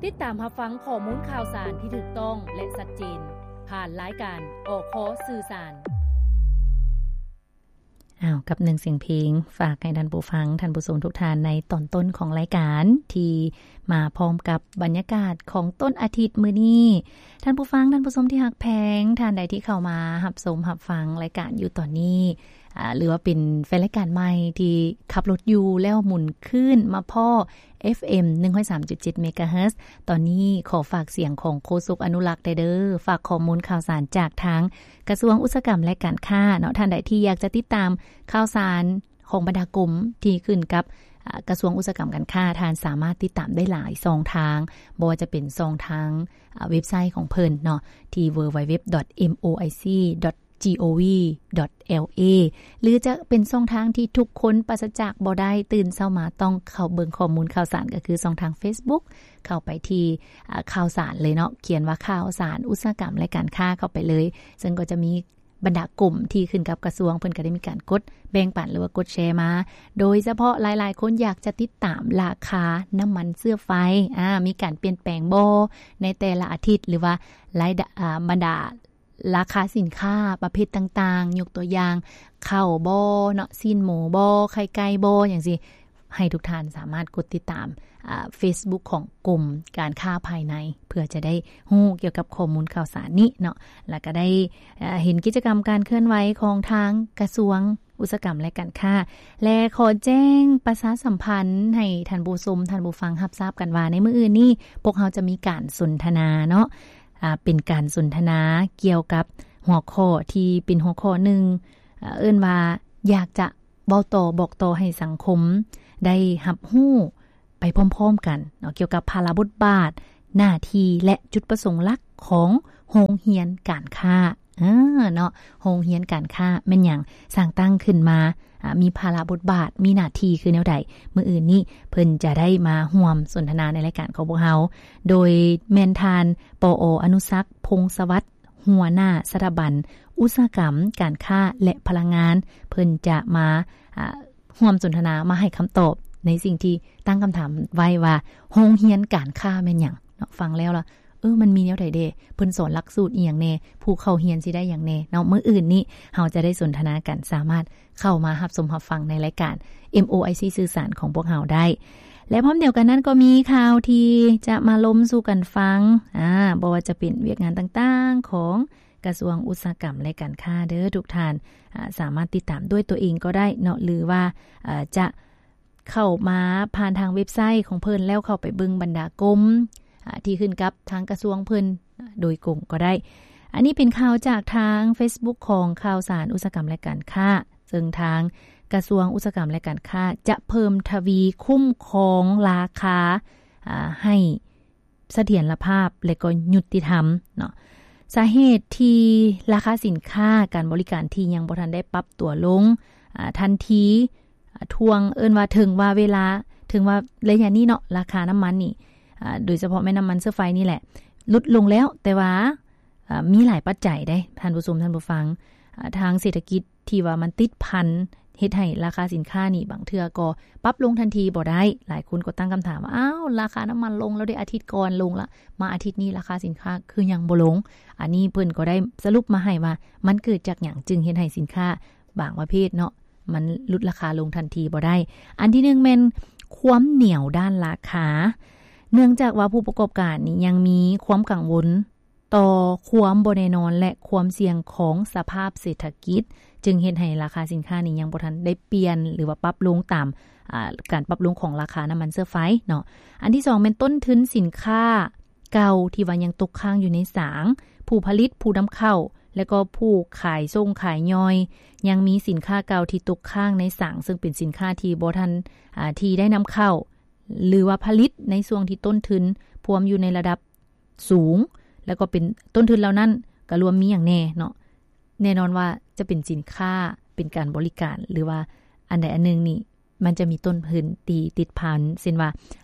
ຕິດຕາມຮັບຟັງຂໍ້ມູນຂ່າວສານທີ່ຖືກຕ້ອງ ແລະ ຊັດເຈນ ຜ່ານລາຍການ ອຄ ສື່ສານ. ອ້າວ ກັບໜຶ່ງສຽງເພງ ຝາກໃຫ້ທ່ານຜູ້ຟັງ, ທ່ານຜູ້ຊົມທຸກທ່ານ ໃນຕອນຕົ້ນຂອງລາຍການ ທີ່ມາພ້ອມກັບບັນຍາກາດຂອງຕົ້ນອາທິດມື້ນີ້. ທ່ານຜູ້ຟັງ, ທ່ານຜູ້ຊົມທີ່ຮັກແພງ, ທ່ານໃດທີ່ເຂົ້າມາຮັບຊົມຮັບຟັງລາຍການຢູ່ຕອນນີ້ ອາ ຫຼືວ່າເປັນແຟນລາຍການໃໝ່ທີ່ຂັບລົດຢູ່ ແລ້ວໝູນຄື້ນມາພໍ້ ເອັຟເອັມ ໜຶ່ງຮ້ອຍສາມຈຸດເຈັດ ເມກາເຮີດ ຕອນນີ້ຂໍຝາກສຽງຂອງໂຄສົກອະນຸລັກໄດ້ເດີ້ ຝາກຂໍ້ມູນຂ່າວສານຈາກທາງກະຊວງອຸດສາຫະກຳ ແລະ ການຄ້າເນາະ. ທ່ານໃດທີ່ຢາກຈະຕິດຕາມຂ່າວສານຂອງບັນດາກົມທີ່ຂຶ້ນກັບ ອາ ກະຊວງອຸດສາຫະກຳການຄ້າ, ທ່ານສາມາດຕິດຕາມໄດ້ຫຼາຍຊ່ອງທາງ, ບໍ່ວ່າຈະເປັນຊ່ອງທາງ ອາ ເວັບໄຊຂອງເພິ່ນເນາະ ທີ່ ดัບເບິນຢູ ດັບເບິນຢູ ດັບເບິນຢູ ດອດ ເອັມ ໂອ ໄອ ຊີ ດອດ ຈີ ໂອ ວີ ດອດ ແອລ ເອ ຫຼືຈະເປັນຊ່ອງທາງທີ່ທຸກຄົນປາສະຈາກບໍ່ໄດ້, ຕື່ນເຊົ້າມາຕ້ອງເຂົ້າເບິ່ງຂໍ້ມູນຂ່າວສານ ກໍຄືຊ່ອງທາງເຟສບຸກ, ເຂົ້າໄປທີ່ ອາ ຂ່າວສານເລີຍເນາະ, ຂຽນວ່າຂ່າວສານອຸດສາຫະກຳ ແລະ ການຄ້າ ເຂົ້າໄປເລີຍ, ເຊິ່ງກໍຈະມີບັນດາກົມທີ່ຂຶ້ນກັບກະຊວງ ເພິ່ນກໍໄດ້ມີການກົດແບ່ງປັນ ຫຼືວ່າກົດແຊມາ, ໂດຍສະເພາະຫຼາຍໆຄົນຢາກຈະຕິດຕາມລາຄານ້ຳມັນເຊື້ອໄຟ ອາ ມີການປ່ຽນແປງບໍ່ໃນແຕ່ລະອາທິດ ຫຼືວ່າລາຍ ອາ ບັນດາ ລາຄາສິນຄ້າປະເພດຕ່າງໆ, ຍົກຕົວຢ່າງ ເຂົ້າບໍ່ເນາະ, ຊີ້ນໝູບໍ່, ໄຂ່ໄກ່ບໍ່ ຫຍັງຊີ້, ໃຫ້ທຸກທ່ານສາມາດກົດຕິດຕາມ ອາ ເຟສບຸກຂອງກົມການຄ້າພາຍໃນ ເພື່ອຈະໄດ້ຮູ້ກ່ຽວກັບຂໍ້ມູນຂ່າວສານນີ້ເນາະ, ແລ້ວກໍໄດ້ ອາ ເຫັນກິດຈະກຳການເຄື່ອນໄຫວຂອງທາງກະຊວງອຸດສາຫະກຳ ແລະ ການຄ້າ. ແລະ ຂໍແຈ້ງປະຊາສຳພັນໃຫ້ທ່ານຜູ້ຊົມ, ທ່ານຜູ້ຟັງຮັບຊາບກັນວ່າ ໃນມື້ອື່ນນີ້ ພວກເຮົາຈະມີການສົນທະນາເນາະ, ອາ ເປັນການສົນທະນາກ່ຽວກັບຫົວຂໍ້ທີ່ເປັນຫົວຂໍ້ໜຶ່ງ ເອີ້ນວ່າ ຢາກຈະເວົ້າຕໍ່ບອກຕໍ່ໃຫ້ສັງຄົມໄດ້ຮັບຮູ້ໄປພ້ອມໆກັນເນາະ ກ່ຽວກັບພາລະບົດບາດ, ໜ້າທີ່ ແລະ ຈຸດປະສົງຫຼັກຂອງໂຮງຮຽນການຄ້າ ເອີ ເນາະ, ໂຮງຮຽນການຄ້າແມ່ນຫຍັງ? ສ້າງຕັ້ງຂຶ້ນມາ ອາ ມີພາລະບົດບາດ, ມີໜ້າທີ່ຄືແນວໃດ? ມື້ອື່ນນີ້ເພິ່ນຈະໄດ້ມາຮ່ວມສົນທະນາໃນລາຍການຂອງພວກເຮົາ, ໂດຍແມ່ນທ່ານ ປອ ອະນຸສັກ ພົງສະຫວັດ ຫົວໜ້າສະຖາບັນອຸດສາຫະກຳ, ການຄ້າ ແລະ ພະລັງງານ, ເພິ່ນຈະມາ ອາ ຮ່ວມສົນທະນາ, ມາໃຫ້ຄຳຕອບໃນສິ່ງທີ່ຕັ້ງຄຳຖາມໄວ້ວ່າ ໂຮງຮຽນການຄ້າແມ່ນຫຍັງເນາະ? ຟັງແລ້ວລະ ເອີ ມັນມີແນວໃດແດ່? ເພິ່ນສອນຫຼັກສູດອີ່ຫຍັງແດ່? ຜູ້ເຂົ້າຮຽນຊິໄດ້ຫຍັງແດ່ເນາະ? ມື້ອື່ນນີ້ເຮົາຈະໄດ້ສົນທະນາກັນ, ສາມາດເຂົ້າມາຮັບຊົມຮັບຟັງໃນລາຍການ ເອັມ ໂອ ໄອ ຊີ ສື່ສານຂອງພວກເຮົາໄດ້. ແລະ ພ້ອມດຽວກັນນັ້ນກໍມີຂ່າວທີ່ຈະມາລົມສູ່ກັນຟັງ, ອາ ບໍ່ວ່າຈະເປັນວຽກງານຕ່າງໆຂອງກະຊວງອຸດສາຫະກຳ ແລະ ການຄ້າເດີ້ທຸກທ່ານ, ອາ ສາມາດຕິດຕາມດ້ວຍຕົວເອງກໍໄດ້ເນາະ ຫຼືວ່າ ອາ ຈະ ເຂົ້າມາຜ່ານທາງເວັບໄຊຂອງເພິ່ນ ແລ້ວເຂົ້າໄປເບິ່ງບັນດາກົມ ອາ ທີ່ຂຶ້ນກັບທາງກະຊວງເພິ່ນ ອາ ໂດຍກົງກໍໄດ້. ອັນນີ້ເປັນຂ່າວຈາກທາງເຟສບຸກຂອງຂ່າວສານອຸດສາຫະກຳ ແລະ ການຄ້າ, ເຊິ່ງທາງກະຊວງອຸດສາຫະກຳ ແລະ ການຄ້າ ຈະເພີ່ມທະວີຄຸ້ມຄອງລາຄາ ອາ ໃຫ້ ສະຖຽນລະພາບ ແລະ ກໍຍຸຕິທຳເນາະ. ສາເຫດທີ່ລາຄາສິນຄ້າການບໍລິການທີ່ຍັງບໍ່ທັນໄດ້ປັບຕົວລົງ ອາ ທັນທີ ອາ ທ່ວງ ເອີ້ນວ່າເຖິງວ່າເວລາ ເຖິງວ່າໄລຍະນີ້ເນາະ ລາຄານ້ຳມັນນີ້ ອາ ໂດຍສະເພາະແມ່ນນ້ຳມັນເຊື້ອໄຟນີ້ແຫຼະ ຫຼຸດລົງແລ້ວ, ແຕ່ວ່າ ອາ ມີຫຼາຍປັດໄຈເດ້ ທ່ານຜູ້ຊົມ ທ່ານຜູ້ຟັງ, ອາ ທາງເສດຖະກິດ ທີ່ວ່າມັນຕິດພັນເຮັດໃຫ້ລາຄາສິນຄ້ານີ້ບາງເທື່ອກໍປັບລົງທັນທີບໍ່ໄດ້. ຫຼາຍຄົນກໍຕັ້ງຄຳຖາມວ່າ ອ້າວ ລາຄານ້ຳມັນລົງແລ້ວເດ ອາທິດກ່ອນລົງລະ ມາອາທິດນີ້ລາຄາສິນຄ້າຄືຍັງບໍ່ລົງ? ອັນນີ້ເພິ່ນກໍໄດ້ສະຫຼຸບມາໃຫ້ວ່າ ມັນເກີດຈາກຫຍັງຈຶ່ງເຮັດໃຫ້ສິນຄ້າບາງປະເພດເນາະ ມັນຫຼຸດລາຄາລົງທັນທີບໍ່ໄດ້. ອັນທີໜຶ່ງແມ່ນຄວາມໜຽວດ້ານລາຄາ, ເນື່ອງຈາກວ່າຜູ້ປະກອບການນີ້ຍັງມີຄວາມກັງວົນ ຕໍ່ຄວາມບໍ່ແນ່ນອນ ແລະ ຄວາມສ່ຽງຂອງສະພາບເສດຖະກິດ ຈຶ່ງເຮັດໃຫ້ລາຄາສິນຄ້ານີ້ຍັງບໍ່ທັນໄດ້ປ່ຽນ ຫຼືວ່າປັບລົງຕາມ ອາ ການປັບລົງຂອງລາຄານ້ຳມັນເຊື້ອໄຟເນາະ. ອັນທີສອງແມ່ນຕົ້ນທຶນສິນຄ້າເກົ່າທີ່ວ່າຍັງຕົກຄ້າງຢູ່ໃນສາງ, ຜູ້ຜະລິດ, ຜູ້ນຳເຂົ້າ ແລະ ກໍຜູ້ຂາຍສົ່ງຂາຍຍ່ອຍ ຍັງມີສິນຄ້າເກົ່າທີ່ຕົກຄ້າງໃນສາງ, ເຊິ່ງເປັນສິນຄ້າທີ່ບໍ່ທັນ ອາ ທີ່ໄດ້ນຳເຂົ້າ ຫຼືວ່າຜະລິດໃນຊ່ວງທີ່ຕົ້ນທຶນພວມຢູ່ໃນລະດັບ ສູງ ແລ້ວກໍເປັນຕົ້ນທຶນເຫຼົ່ານັ້ນ ກໍລວມມີຫຍັງແດ່ເນາະ? ແນ່ນອນວ່າຈະເປັນສິນຄ້າ ເປັນການບໍລິການ ຫຼືວ່າອັນໃດອັນໜຶ່ງນີ້ ມັນຈະມີຕົ້ນທຶນທີ່ຕິດພັນ ເຊັ່ນວ່າ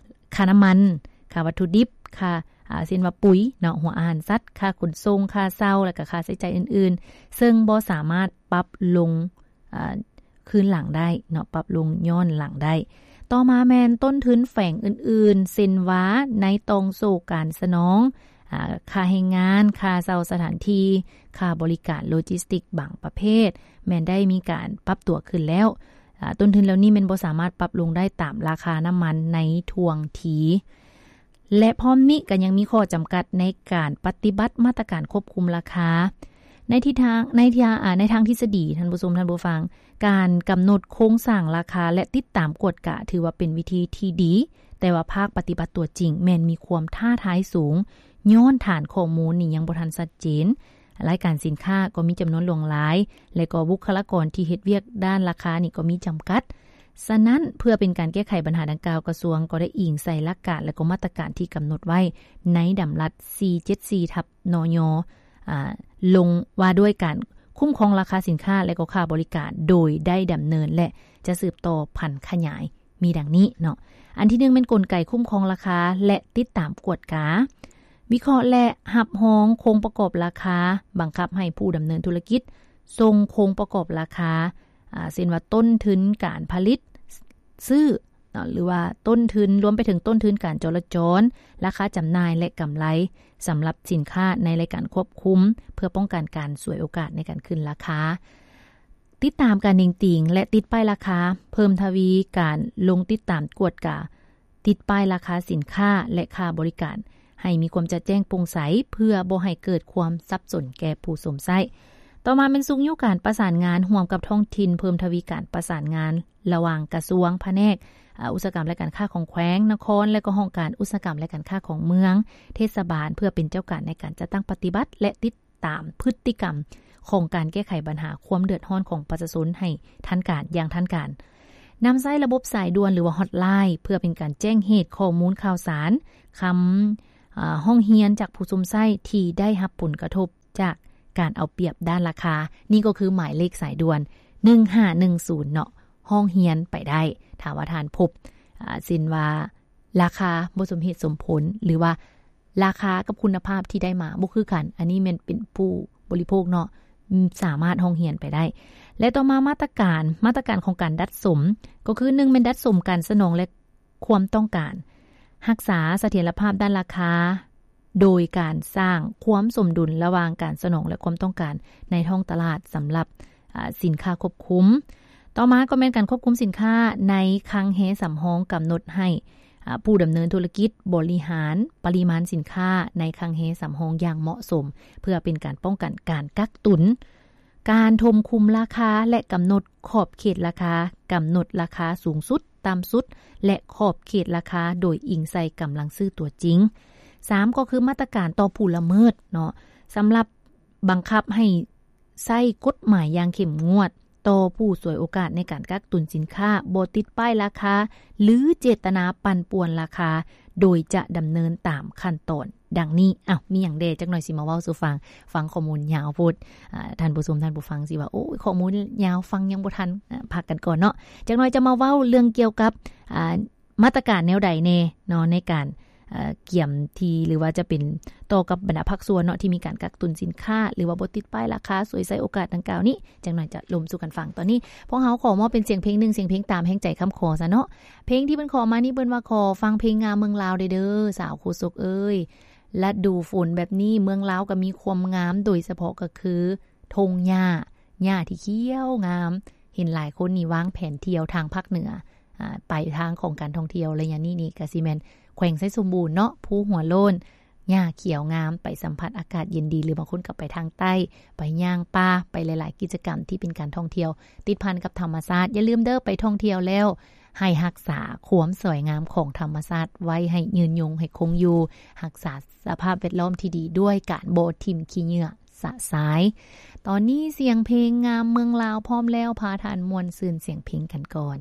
ຄ່ານ້ຳມັນ, ຄ່າວັດຖຸດິບ, ຄ່າ ອາ ເຊັ່ນວ່າປຸ໋ຍເນາະ, ຫົວອາຫານສັດ, ຄ່າຂົນສົ່ງ, ຄ່າເຊົ່າ ແລ້ວກໍຄ່າໃຊ້ຈ່າຍອື່ນໆ ເຊິ່ງບໍ່ສາມາດປັບລົງ ອາ ຄືນຫຼັງໄດ້ເນາະ, ປັບລົງຍ້ອນຫຼັງໄດ້. ຕໍ່ ຕໍ່ມາແມ່ນຕົ້ນທຶນແຝງອື່ນໆ ເຊັ່ນວ່າໃນຕ່ອງໂສ້ການສະໜອງ ອາ ຄ່າແຮງງານ, ຄ່າເຊົ່າສະຖານທີ່, ຄ່າບໍລິການໂລຈິສຕິກບາງປະເພດ ແມ່ນໄດ້ມີການປັບຕົວຂຶ້ນແລ້ວ. ອາ ຕົ້ນທຶນເຫຼົ່ານີ້ແມ່ນບໍ່ສາມາດປັບລົງໄດ້ຕາມລາຄານ້ຳມັນໃນທ່ວງທີ ແລະ ພ້ອມນີ້ກໍຍັງມີຂໍ້ຈຳກັດໃນການປະຕິບັດມາດຕະການຄວບຄຸມລາຄາ. ໃນທິດທາງ ໃນທາງ ອາ ໃນທາງທິດສະດີ, ທ່ານຜູ້ຊົມ, ທ່ານຜູ້ຟັງ, ການກຳນົດໂຄງສ້າງລາຄາ ແລະ ຕິດຕາມກວດກາ ຖືວ່າເປັນວິທີທີ່ດີ, ແຕ່ວ່າພາກປະຕິບັດຕົວຈິງແມ່ນມີຄວາມທ້າທາຍສູງ, ຍ້ອນຖານຂໍ້ມູນນີ້ຍັງບໍ່ທັນຊັດເຈນ. ລາຍການສິນຄ້າກໍມີຈຳນວນຫຼວງຫຼາຍ ແລະ ກໍບຸກຄະລາກອນທີ່ເຮັດວຽກດ້ານລາຄານີ້ກໍມີຈຳກັດ. ສະນັ້ນ, ເພື່ອເປັນການແກ້ໄຂບັນຫາດັ່ງກ່າວ, ກະຊວງກໍໄດ້ອີງໃສ່ຫຼັກການ ແລະ ກໍມາດຕະການທີ່ກຳນົດໄວ້ໃນດຳລັດ ສີ່ເຈັດສີ່ ທັບ ນຍ ອາ ລົງວ່າດ້ວຍການຄຸ້ມຄອງລາຄາສິນຄ້າ ແລະ ກໍຄ່າບໍລິການ ໂດຍໄດ້ດຳເນີນ ແລະ ຈະສືບຕໍ່ຜັນຂະຫຍາຍ ມີດັ່ງນີ້ເນາະ. ອັນທີໜຶ່ງແມ່ນກົນໄກຄຸ້ມຄອງລາຄາ ແລະ ຕິດຕາມກວດກາ, ວິເຄາະ ແລະ ຮັບຮອງໂຄງປະກອບລາຄາ, ບັງຄັບໃຫ້ຜູ້ດຳເນີນທຸລະກິດສົ່ງໂຄງປະກອບລາຄາ ອາ ເຊັ່ນວ່າຕົ້ນທຶນການຜະລິດ, ຊື້ ເນາະ ຫຼືວ່າຕົ້ນທຶນ, ລວມໄປເຖິງຕົ້ນທຶນການຈໍລະຈອນ, ລາຄາຈຳໜ່າຍ ແລະ ກຳໄລສຳລັບສິນຄ້າໃນລາຍການຄວບຄຸມ ເພື່ອປ້ອງກັນການສວຍໂອກາດໃນການຂຶ້ນລາຄາ. ຕິດຕາມການເໜັງຕີງ ແລະ ຕິດປ້າຍລາຄາ, ເພີ່ມທະວີການລົງຕິດຕາມກວດກາ ຕິດປ້າຍລາຄາສິນຄ້າ ແລະ ຄ່າບໍລິການ ໃຫ້ມີຄວາມຈະແຈ້ງໂປ່ງໃສ ເພື່ອບໍ່ໃຫ້ເກີດຄວາມສັບສົນແກ່ຜູ້ຊົມໃຊ້. ຕໍ່ມາແມ່ນຊຸກຍູ້ການປະສານງານຮ່ວມກັບທ້ອງຖິ່ນ, ເພີ່ມທະວີການປະສານງານລະຫວ່າງກະຊວງ, ພະແນກ ອາ ອຸດສາຫະກຳ ແລະ ການຄ້າຂອງແຂວງ, ນະຄອນ ແລະ ກໍຫ້ອງການອຸດສາຫະກຳ ແລະ ການຄ້າຂອງເມືອງ, ເທດສະບານ ເພື່ອເປັນເຈົ້າການໃນການຈັດຕັ້ງປະຕິບັດ ແລະ ຕິດ ຕາມພຶດຕິກຳຂອງການແກ້ໄຂບັນຫາຄວາມເດືອດຮ້ອນຂອງປະຊາຊົນໃຫ້ທັນການ, ຢ່າງທັນການ. ນຳໃຊ້ລະບົບສາຍດ່ວນ ຫຼືວ່າ Hotline ເພື່ອເປັນການແຈ້ງເຫດຂໍ້ມູນຂ່າວສານ, ຄຳ ອາ ຮ້ອງຮຽນຈາກຜູ້ຊົມໃຊ້ທີ່ໄດ້ຮັບຜົນກະທົບຈາກການເອົາປຽບດ້ານລາຄາ. ນີ້ກໍຄືໝາຍເລກສາຍດ່ວນ ໜຶ່ງຫ້າໜຶ່ງສູນ ເນາະ, ຮ້ອງຮຽນໄປໄດ້ ຖ້າວ່າທ່ານພົບ ອາ ເຊັ່ນວ່າ ລາຄາບໍ່ສົມເຫດສົມຜົນ ຫຼືວ່າລາຄາກັບຄຸນນະພາບທີ່ໄດ້ມາບໍ່ຄືກັນ, ອັນນີ້ແມ່ນເປັນຜູ້ບໍລິໂພກເນາະ ສາມາດຮ້ອງຮຽນໄປໄດ້. ແລະ ຕໍ່ມາມາດຕະການ, ມາດຕະການຂອງການດັດສົມ ກໍຄື ໜຶ່ງ ແມ່ນດັດສົມການສະໜອງ ແລະ ຄວາມຕ້ອງການ, ຮັກສາສະຖຽນລະພາບດ້ານລາຄາ ໂດຍການສ້າງຄວາມສົມດຸນລະຫວ່າງການສະໜອງ ແລະ ຄວາມຕ້ອງການໃນທ້ອງຕະຫຼາດສຳລັບ ອາ ສິນຄ້າຄວບຄຸມ. ຕໍ່ມາກໍແມ່ນການຄວບຄຸມສິນຄ້າໃນຄັງແຮສຳຮອງ, ກຳນົດໃຫ້ ອາ ຜູ້ດຳເນີນທຸລະກິດບໍລິຫານປະລິມານສິນຄ້າໃນຄັງແຮສຳຮອງຢ່າງເໝາະສົມ ເພື່ອເປັນການປ້ອງກັນການກັກຕຸນ, ການຖົມຄຸມລາຄາ ແລະ ກຳນົດຂອບເຂດລາຄາ, ກຳນົດລາຄາສູງສຸດ, ຕ່ຳສຸດ ແລະ ຂອບເຂດລາຄາໂດຍອີງໃສ່ກຳລັງຊື້ຕົວຈິງ. ສາມ ກໍຄືມາດຕະການຕໍ່ຜູ້ລະເມີດເນາະ, ສຳລັບ ບັງຄັບໃຫ້ໃຊ້ກົດໝາຍຢ່າງເຂັ້ມງວດຕໍ່ຜູ້ສວຍໂອກາດໃນການກັກຕຸນສິນຄ້າບໍ່ຕິດປ້າຍລາຄາ ຫຼື ເຈດຕະນາປັ່ນປ່ວນລາຄາ ໂດຍຈະດຳເນີນຕາມຂັ້ນຕອນດັ່ງນີ້. ອ້າວ ມີຫຍັງແດ່? ຈັກໜ່ອຍຊິມາເວົ້າສູ່ຟັງ. ຟັງຂໍ້ມູນຍາວໂພດ, ອາ ທ່ານຜູ້ຊົມ, ທ່ານຜູ້ຟັງຊິວ່າ ໂອ້ຍ ຂໍ້ມູນຍາວ, ຟັງຍັງບໍ່ທັນ. ອາ ພັກກັນກ່ອນເນາະ, ຈັກໜ່ອຍຈະມາເວົ້າເລື່ອງກ່ຽວກັບ ອາ ມາດຕະການແນວໃດແດ່ເນາະ ໃນການ ເອີ ກຽມທີ່ ຫຼືວ່າຈະເປັນຕໍ່ກັບບັນດາພາກສ່ວນເນາະ ທີ່ມີການກັກຕຸນສິນຄ້າ ຫຼືວ່າບໍ່ຕິດປ້າຍລາຄາ ສວຍໃຊ້ໂອກາດດັ່ງກ່າວນີ້. ຈັກໜ່ອຍຈະລົມສູ່ກັນຟັງ. ຕອນນີ້ພວກເຮົາຂໍມອບເປັນສຽງເພງໜຶ່ງສຽງເພງຕາມແຮງໃຈຄຳຂໍຊະເນາະ. ເພງທີ່ເພິ່ນຂໍມານີ້ ເພິ່ນວ່າຂໍຟັງເພງງາມເມືອງລາວແດ່ເດີ ສາວໂຄສົກເອີຍ. ລະດູຝົນແບບນີ້ ເມືອງລາວກໍມີຄວາມງາມ ໂດຍສະເພາະກໍຄືທົ່ງຫຍ້າ ຫຍ້າທີ່ຂຽວງາມ. ເຫັນຫຼາຍຄົນນີ້ວາງແຜນທ່ຽວທາງພາກເໜືອ ອາ ໄປທາງຂອງການທ່ອງທ່ຽວໄລຍະນີ້ນີ້ ກະຊິແມ່ນແຂວງໄຊສົມບູນເນາະ, ພູຫົວໂລ້ນ ຫຍ້າຂຽວງາມ, ໄປສຳຜັດອາກາດເຢັນດີ ຫຼື ບາງຄົນກໍໄປທາງໃຕ້ ໄປຍ່າງປ່າ, ໄປຫຼາຍໆກິດຈະກຳທີ່ເປັນການທ່ອງທ່ຽວ ຕິດພັນກັບທຳມະຊາດ. ຢ່າລືມເດີ, ໄປທ່ອງທ່ຽວແລ້ວ ໃຫ້ຮັກສາຄວາມສວຍງາມຂອງທຳມະຊາດໄວ້ໃຫ້ຍືນຍົງ, ໃຫ້ຄົງຢູ່, ຮັກສາສະພາບແວດລ້ອມທີ່ດີດ້ວຍການບໍ່ຖິ້ມຂີ້ເຫຍື້ອ ສະສາຍ. ຕອນນີ້ສຽງເພງງາມເມືອງລາວພ້ອມແລ້ວ, ພາທ່ານມ່ວນຊື່ນສຽງເພງກັນກ່ອນ.